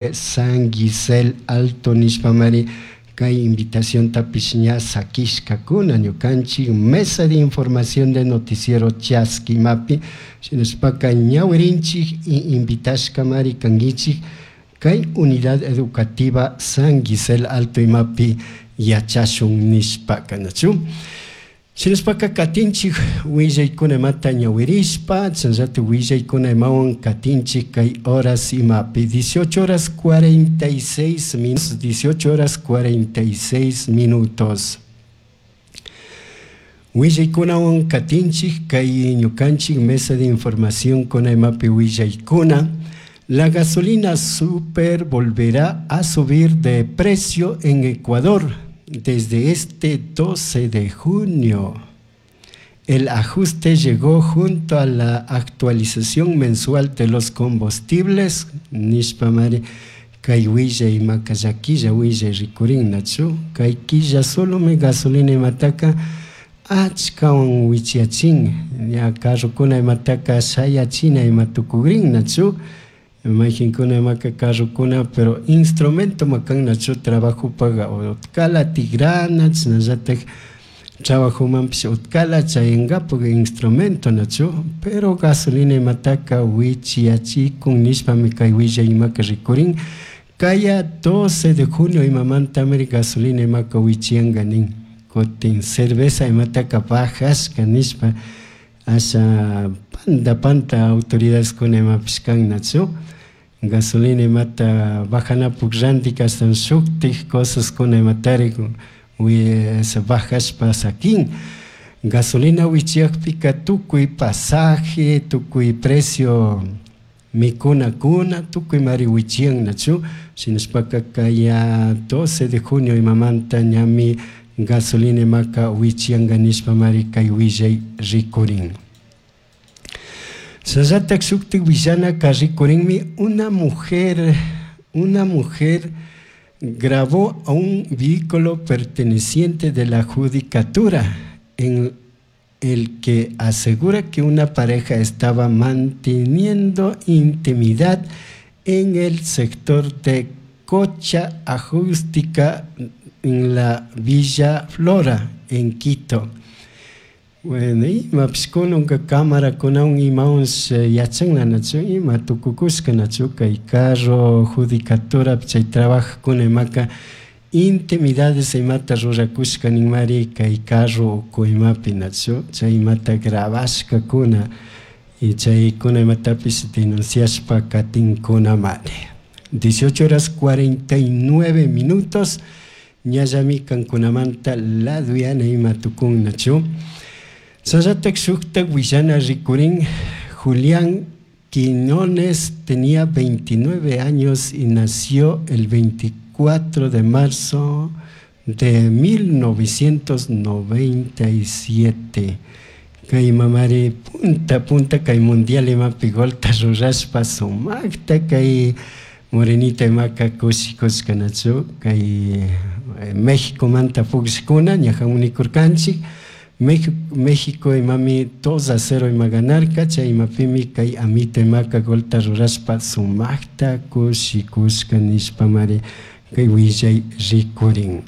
San Gisel Alto nishpamari kay invitaciontapish ña saquishkakuna ñukanchik mesa de información de noticiero Chaskimapi. Shinashpaka ñawirinchik y invitashkamari kankichik kay unidad educativa San Gisel Alto imapi yachashun nishpaka, nachu? Shinashpaka katinchik willaykuna imata ñawirishpa, chashnallata willaykuna imawan katinchik kay horas imapi 18 horas 46 minutos, 18 horas 46 minutos. Willaykunawan katinchik kay ñukanchik mesa de información kuna imapi willaykuna. La gasolina super volverá a subir de precio en Ecuador desde este 12 de junio. El ajuste llegó junto a la actualización mensual de los combustibles. Nishpamari kay willay imaka llaquilla willay rikurin, nachu? Kay killa solomi gasolina imataka achkawan wichiachin, ña carrokuna imataka shayachina ima tukugrin, nachu? Mayqinkuna imaka carrokuna, pero instrumento makan, nachu? Trabajopaga utkala tigrana, chasnallatak trabajomanpish utkala chayankapak instrumento, nachu? Pero gasolina imataka wichiachikun nishpami kay willay imaka rikurin. Kaya 12 de junio imamantami gasolina imaka wichiyanka nin. Kutin cerveza imataka bajashka nishpa asha panta panta autoridadeskuna imapish kan, nachu? Gasolina imata bajanapuk rantika ashtawan shuktik cosaskuna imatari bajashpa sakin. Gasolina wichiyakpika tukuy pasaje, tukuy precio mikunakuna, tukuy mari wichiyan, nachu? Shinashpaka kaya 12 de junio imamanta ñami gasolina imaka wichiyanka nishpa mari kay willay rikurin. Shinallatak shuktik willanaka rikurinmi: una mujer grabó a un vehículo perteneciente de la judicatura en el que asegura que una pareja estaba manteniendo intimidad en el sector de Cocha Acústica en la Villa Flora, en Quito. Bueno, imapish kunanka cámarakunawan imawan yachanlanachu ima tukukushka, nachu? Kay carro judicatura chay trabajakuna imaka intimidades imata rurakushka ninmari kay carro uku imapi, nachu? Chay imata grabashkakuna y chaykuna imatapish denunciashpa katinkunamari. 18 horas 49 minutos, ñallami kankunamanta laduyana ima tukun, nachu? Shinallatak shuktak willana rikurin: Julián Quiñones tenía 29 años y nació el 24 de marzo de 1997. Kay mamari punta punta kay mundial imapi golta rurashpa sumakta kay morenita imaka kushikushka, nachu? Kay México manta pukllakuna ñajan unikurkanchik. México imami 2-0 ima ganarka, chay imapimi kay amita imaka golta rurashpa sumakta kushikushka nishpamari kay willay rikurin.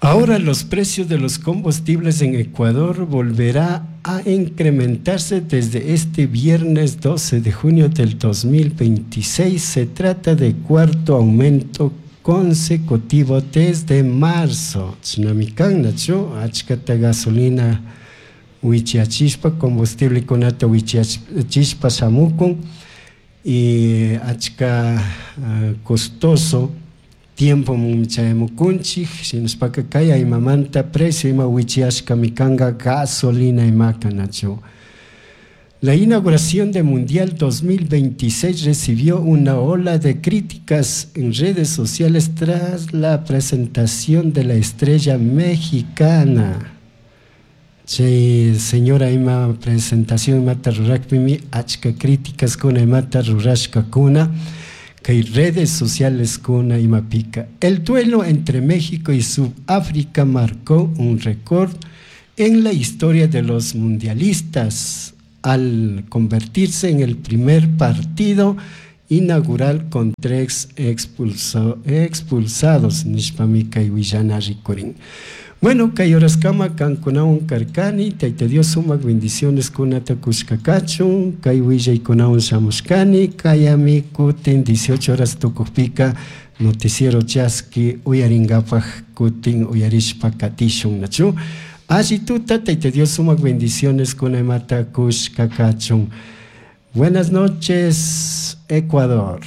Ahora los precios de los combustibles en Ecuador volverá a incrementarse desde este viernes 12 de junio del 2026. Se trata de cuarto aumento consecutivo desde marzo. Chashnami kan, nachu? Achkata gasolina wichiachishpa, combustiblekunata wichiachishpa shamukun y achka costoso tiempo chayamukunchik. Shinashpaka kay imamanta precio ima wichiashkami kanka gasolina imaka, nachu? La inauguración del Mundial 2026 recibió una ola de críticas en redes sociales tras la presentación de la estrella mexicana. Chay señora ima presentación imata rurakpimi achka críticas kuna imata rurashkakuna kay redes sociales kuna imapika. El duelo entre México y Sudáfrica marcó un récord en la historia de los mundialistas al convertirse en el primer partido inaugural con tres expulsados nishpami kay willana rikurin. Bueno, kay horaskama kankunawan karkani, Tayta Dios sumak bendiciones kunata kushka kachun, kay willaykunawan shamushkani, kayami kutin 18 horas tukukpika noticiero chaski uyarinkapak kutin uyarishpa katishun, nachu? Alli tuta, Tayta Dios sumak bendiciones kunamata kushka kachun. Buenas noches, Ecuador.